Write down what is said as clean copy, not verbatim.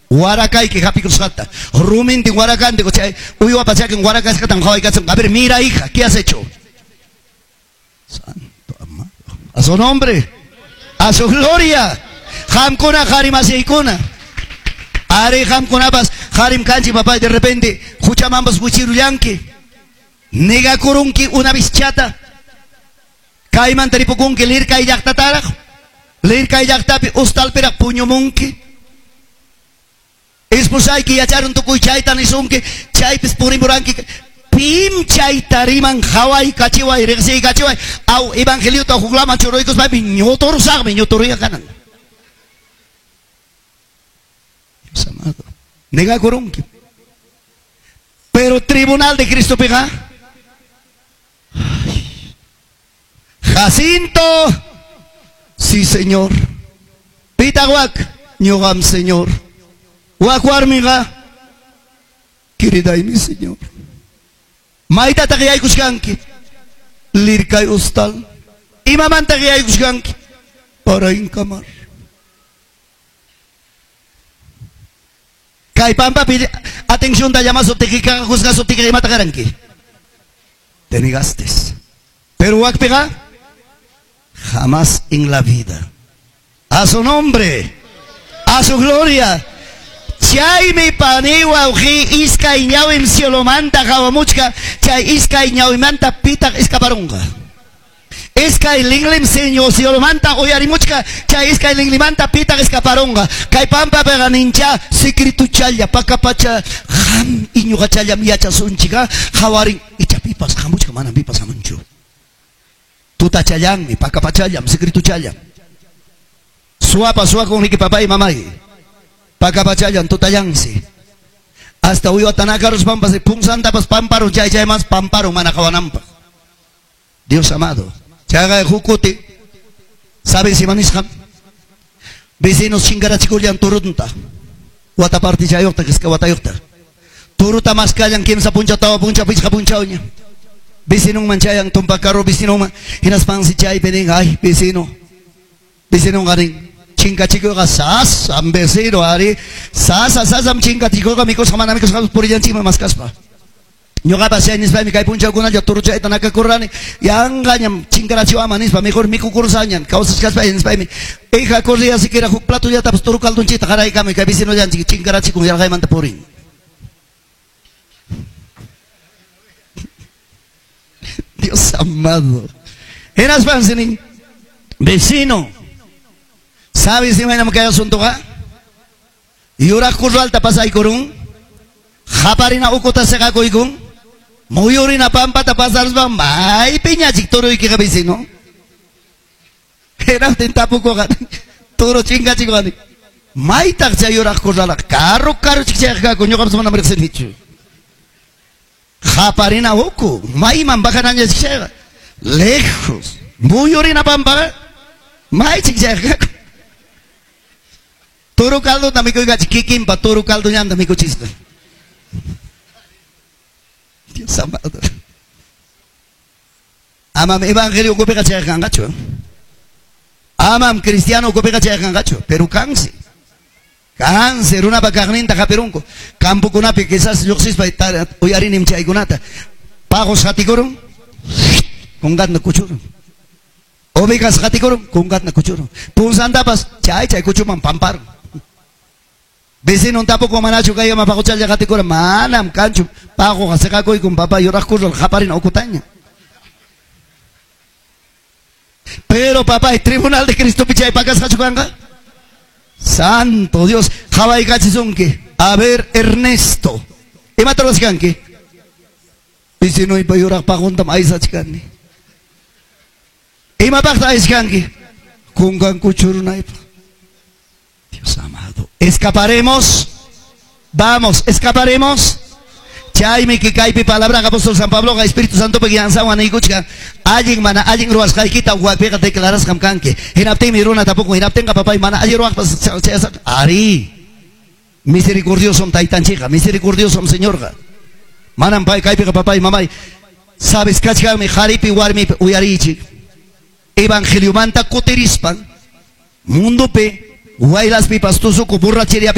Warakayki hapikusqata, rumintin warakantin, chay uywapa chakin warakasqatan qhawaykachin. A ver, mira hija, ¿qué has hecho? Santo amado. A su nombre, a su gloria. Qamkuna qharimasiykuna. Ari qamkunapas qarim kanchik papá, de repente huchamanpas wichirullanki. Negakurunki una bischata. Kaymanta ripukunki lirkay llaqtataraq. Lirkay llaqtapi ustalpiraq puñumunki. Esposayki yacharun tukuy chayta nisunki, chaypis purimuranki. Pim chayta riman haway kachiway, riqsiy kachiway. Aw evangeliota huklaman churuykuspaypi ñuturusaqmi, ñuturuya kanan. Dios amado. Negakurunki. Pero tribunal de Cristo piqa. Jacinto. Sí, Señor. Pitahuac, ñuqam, Señor. Wak warmiqa, querida mi Señor. Maytataq yaykushkanki? Lirkay ustal. Imamantaq yaykushkanki? Para inkamar. Kay pampapi atención da llamasuptiki, juzgasuptiki imata karanki. Te negaste. Pero wakpiqa, jamás en la vida. A su nombre, a su gloria. Chaymi pani wawqi iskay ñawim cielomanta qawamuchka, chay iskay ñawimanta pitaq escaparunqa. Iskay linlim señor cielomanta uyarimuchka, chay iskay linlimanta pitaq escaparunqa. Kay pampapiqa nincha secretuchalla pakapacha qam iñuqachallam yachasunchika qawarin icha pipas hamuchka manam pipas hamunchu. Tutachallanmi pakapachallam secretuchallam. Suapa suwakuniki papay mamay. Pakapachallan tutallansi. Hasta uywatanakaros pampas punsantapas pamparun chay chay mas pamparun mana qawananpaq. Dios amado. Chayqa hukuti. ¿Sabes ima nisqam? Vecinos chinkarachikullan turunta. Wata partichayuqta kisqa watayuqta. Turuta maskallan kimsa punchaw tawa punchaw pichqa punchawña. Vecinonman chayan tumpa carro vecinonman hinaspansi chaypi nin ay vecino. Vecinonqa nin chinkachikuyqa sasam vecino ari sasa sasam chinkachikuyqa mikusqa mana mikusqa purillanchikman maskaspa. Ñuqapas chay nispaymi kay punchawkunalla turuchayta nakakurrani yanqañam chinkarachiwaman nispa mejor mikukursañam kawsachkaspay nispaymi hija corría siquiera huk platollatapas turu caldunchita qaraykamuy kay vecinollanchik chinkarachikun yarqaymanta purin. Dios amado. Hinaspansi nin vecino, ¿sabes imaynam kay asuntoqa? Yuraq kurralta pasaykurun, qaparina ukuta siqakuykun, muyurina pampata pasaruspa maypiñachik turuykiqa vecino. Hinaptin tapukuqa turu chinkachikuqa maytaq chay yuraq kurralqa karu karuchik chayqa kaku ñuqapas manam riqsinichu. Qaparina uku mayman bajananchik chayqa lejos muyurina pampaqa maychik chayqa kaku. Turu caldota mikuykachi kikinpa turu caldollanta mikuchisqa. Dios amado. Amam evangelio ukupiqa chayqa kanqachu. Amam cristiano ukupiqa chayqa kanqachu, pero kansi. Kansi runapa kaqninta hapirunku. Campokunapi quizás lluqsispa uyarinim chaykunata. Paqos qatikurun, kunkatna kuchurun. Ovejas qatikurun, kunkatna kuchurun. Punsantapas chay chay kuchuman pamparun. Vecino tampoco manachu kayama paquchalla qatikura manam kanchu paquqa siqakuykun papá yuraq kurral qaparina ukutaña. Pero papá, el tribunal de Cristo pichay pakasqachu kanqa. Santo Dios, qhawaykachisunki. A ver, Ernesto, imata ruwaskanki? Vecinuypa yuraq paquntam aysachkani. Imapaqta ayskanki? Kunkan kuchurunaypaq. Dios amado. Escaparemos. Vamos, escaparemos. Chaymi kaypi palabra apóstol San Pablo Espíritu Santo guianzawan niykuchka allin mana allin ruwasqaykita wapiqa declarasqam kanki. Hinaptinmi runa tapuku hinaptinqa papay mana allin ruwaqpas ari. Misericordiosom taytanchikqa, misericordiosom Señorqa. Manam pay kaypiqa papay mamay. Sabes kachkanmi qharipi warmipi uyariychik. Evangeliomanta kutirispan mundopi Waylaspipas tusuku, borracheriapipas.